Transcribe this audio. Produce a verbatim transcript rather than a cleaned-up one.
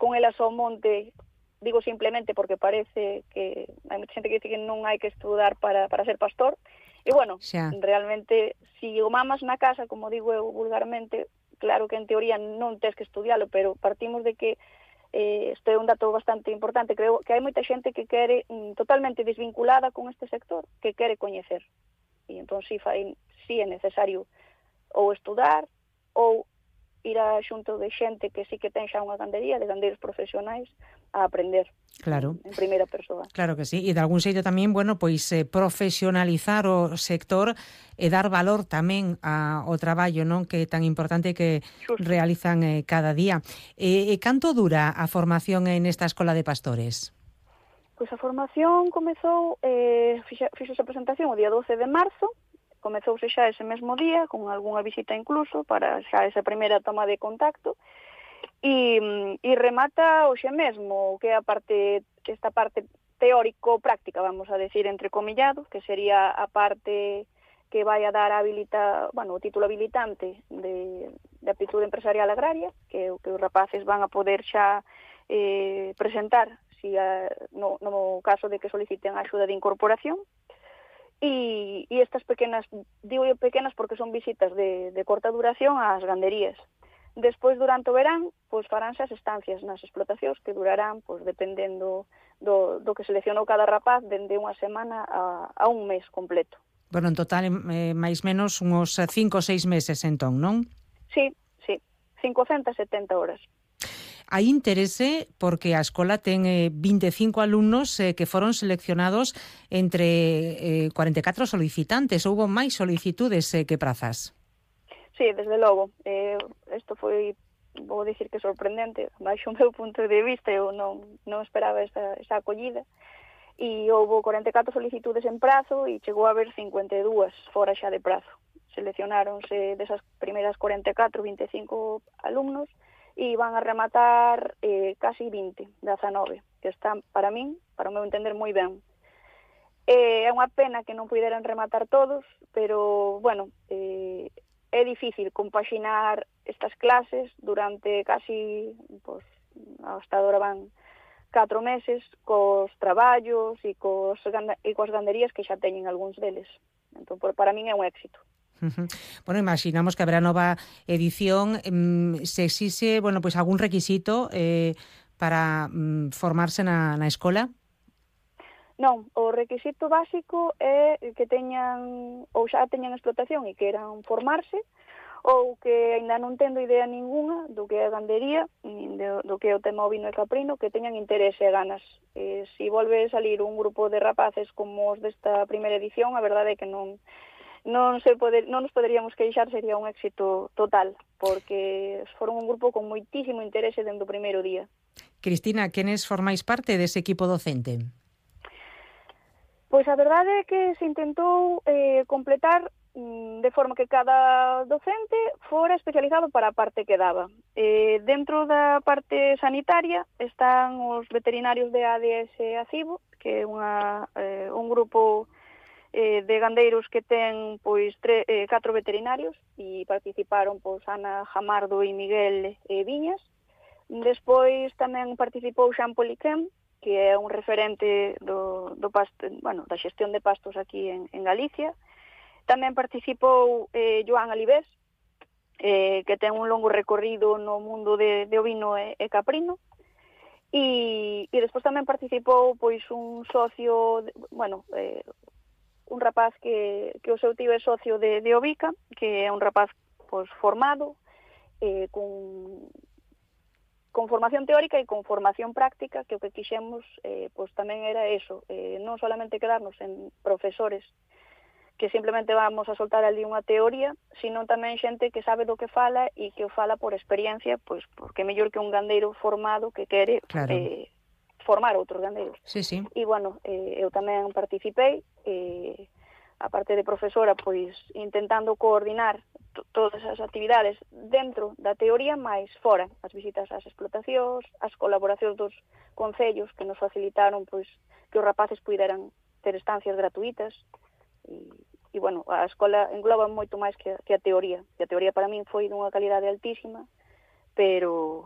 con elas ao monte, digo simplemente porque parece que hai moita xente que dice que non hai que estudar para, para ser pastor, e bueno, xa. realmente, si o mamas na casa, como digo eu vulgarmente, claro que en teoría non tens que estudialo, pero partimos de que eh, este é un dato bastante importante. Creo que hai moita xente que quere mm, totalmente desvinculada con este sector, que quere coñecer. E entón si, fai, si é necesario ou estudar ou ir a xunto de xente que sí que ten xa unha gandería, de gandeiros profesionais, a aprender Claro. en, en primeira persoa. Claro que sí, e de algún xeito tamén, bueno, pois eh, profesionalizar o sector e dar valor tamén ao traballo, non, que é tan importante que Xusto. realizan eh, cada día. E, e canto dura a formación en esta escola de pastores? Pois a formación comezou, eh, fixa, fixo esa presentación o día doce de marzo, comezouse xa ese mesmo día, con algunha visita incluso, para xa esa primeira toma de contacto, e, e remata hoxe mesmo, que é a parte, esta parte teórico-práctica, vamos a decir, entrecomillado, que sería a parte que vai a dar a habilita, bueno, o título habilitante de, de aptitude empresarial agraria, que, que os rapaces van a poder xa eh, presentar si a, no, no caso de que soliciten a axuda de incorporación. E, e estas pequenas, digo eu pequenas porque son visitas de, de corta duración ás ganderías. Despois, durante o verán, pois faránse as estancias nas explotacións que durarán, pois dependendo do, do que seleccionou cada rapaz, dende unha semana a, a un mes completo. Bueno, en total, eh, máis menos uns cinco ou seis meses, entón, non? Sí, sí, cincocentas e setenta horas. Hai interese porque a escola ten eh, vinte e cinco alumnos eh, que foron seleccionados entre eh, cuarenta e catro solicitantes. Houbo máis solicitudes eh, que prazas. Sí, desde logo. Eh, isto foi, vou dicir que sorprendente, baixo o meu punto de vista, eu non, non esperaba esa, esa acollida. E houve cuarenta e catro solicitudes en prazo e chegou a haber cincuenta e dúas fora xa de prazo. Seleccionáronse desas primeiras cuarenta e catro, vinte e cinco alumnos, e van a rematar eh, casi vinte, dezanove, que están, para min, para o meu entender, moi ben. Eh, é unha pena que non puderan rematar todos, pero, bueno, eh, é difícil compaxinar estas clases durante casi, pues, hasta agora van catro meses, cos traballos e, cos, e coas ganderías que xa teñen algúns deles. Entón, para min é un éxito. Uh-huh. Bueno, imaginamos que haberá nova edición. Um, se exixe, bueno, pues algún requisito eh, para um, formarse na, na escola? Non, o requisito básico é que teñan, ou xa teñan explotación e queran formarse, ou que ainda non tendo idea ninguna do que é a gandería, do, do que é o tema ovino e caprino, que teñan interese e ganas. Eh, si volve a salir un grupo de rapaces como os desta primeira edición, a verdade é que non non se poder, non nos poderíamos queixar, sería un éxito total, porque foron un grupo con moitísimo interese dende o primeiro día. Cristina, quenes formais parte dese equipo docente? Pois a verdade é que se intentou eh, completar mm, de forma que cada docente fora especializado para a parte que daba. Eh, dentro da parte sanitaria están os veterinarios de A D S Acibo, que é unha, eh, un grupo eh, de gandeiros que ten pois tre, eh, catro veterinarios e participaron pois Ana Jamardo e Miguel eh, Viñas. Despois tamén participou Xan Poliquén, que é un referente do, do pasto, bueno, da xestión de pastos aquí en, en Galicia. Tamén participou eh, Joan Alibés, eh, que ten un longo recorrido no mundo de, de ovino e, e caprino. E, e despois tamén participou pois un socio, de, bueno, eh, un rapaz que, que o seu tío é socio de, de Ovica, que é un rapaz pois, formado, eh, con, con formación teórica e con formación práctica, que o que quixemos eh, pois, tamén era eso, eh, non solamente quedarnos en profesores que simplemente vamos a soltar ali unha teoría, sino tamén xente que sabe do que fala e que o fala por experiencia, pois porque é mellor que un gandeiro formado que quere claro. eh, formar outros gandeiros. Sí, sí. E, bueno, eh, eu tamén participei, eh, a parte de profesora, pois, intentando coordinar t- todas as actividades dentro da teoría, máis fora, as visitas ás explotacións, as colaboracións dos concellos que nos facilitaron, pois, que os rapaces puderan ter estancias gratuitas, e, e bueno, a escola engloba moito máis que a, que a teoría, que a teoría para min foi dunha calidade altísima, pero